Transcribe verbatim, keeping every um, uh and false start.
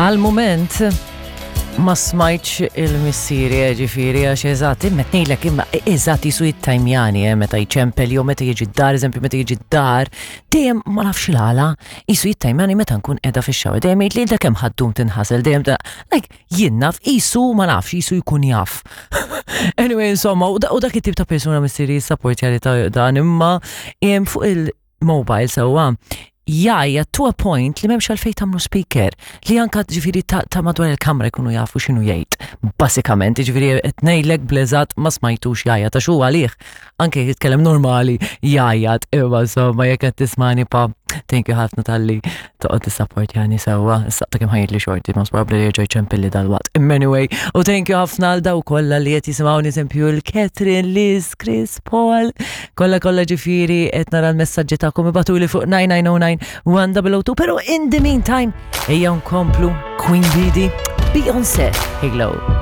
Għal-moment ma smajtx il-missieri, eh, ġifieri, għax eżatt, imma tnejlek imma eżatt jisu jittajmjani, eh, meta jċempel jew meta jiġi d-dar, eżempju meta jiġi d-dar, dejjem ma nafx l-għala, jisu jittajmjani meta nkun qiegħda fix-shower, dejjem jgħid li da kemm ħa ddum tinħasel, dejjem da, like, jien naf, jisu ma nafx, jisu jkun jaf. Anyway, insomma, u da- u dak it-tip ta' persuna missieri jissapportja li ta' dan imma em, fuq il-mobile sewwa jgħajjat to a point li m'hemmx għalfejn tagħmlu speaker li anka ġifieri ta', ta' madwar il-kamra jkunu jafu x'inhu jgħid. Basikament, ġifieri qed ngħidlek bl-eżatt ma smajtux jgħajjat għax huwa għalih anke jitkellem normali jgħajjat, imma insomma jekk qed tismani pa, thank you ħafna talli toqgħod tissapportjani sewwa. Issa ta' kemm ħajjitli xorti, most probably jerġa' jċempilli dalwaqt. Imma anyway, u thank you ħafna għal daw kollha li qed jisimgħuni, eżempju l-Catherine, Liz, Chris, Paul, kollha kollha ġifieri qed nara l-messaġġi tagħkom, ibagħtuli fuq nine nine zero nine one zero zero two, pero in the meantime ejja nkomplu Queen Bidi, Beyoncé, Halo.